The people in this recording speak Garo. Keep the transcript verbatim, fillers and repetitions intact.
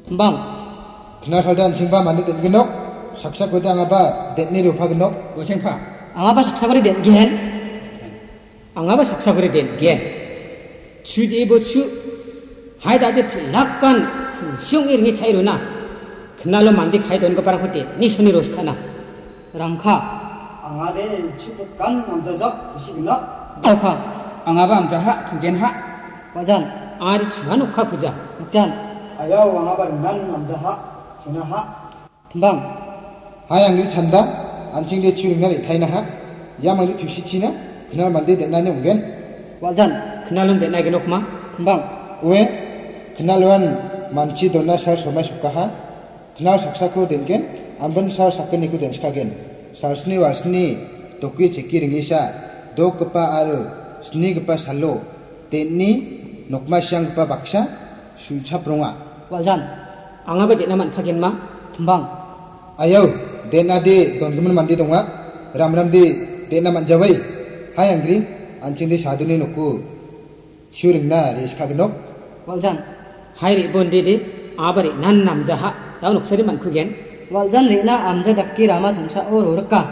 Timbang. Kna salde an·chingba mande den·genok, saksakode angaba den·e ropagenok. Wa·chengpa. Angaba saksakode den·gen. Angaba saksakode den·gen. Chu de·e bo chu. Hai dade pelakan, kungsi ong·e ringe cha·e rona. Knalo mande kae dongiparangko den·e soni roskana. Rangka. Angade chu putkan namjajok, tusi genok. Rangka. Angaba amjaha, tugenha. Wa·jan. Ari chuan okka puja. Wa·jan. Ayau angaba ringan namjaha, tunaha. Timbang. Hai angri chanda, an·chingde chu ringna re·tainaha. Ia mande tusichina, knal mande den·ani ong·gen. Wa·jan, knalon den·aigenokma. Timbang. Ue, knaloan manchi dona sal somai sokaha. Knal saksako den·gen, ambin sal sakgniko den·skagen. Salsni walsni doki cheki ringesa, dokgipa aro snigipa salo, den·e nokma sianggipa baksa su·chapronga. Wa·jan, angaba den·a man·pagenma, Timbang. Ayau, den·ade dongimin mande donga, ramramde den·a man·jawai. Hai angri, an·chingde saduni noko su ringna re·skagenok. Wa·jan. Hai re·bonde de, aba re·nan namjaha, dao noksade man·kugen. Wa·jan re·na amja dake rama tongsao rorika.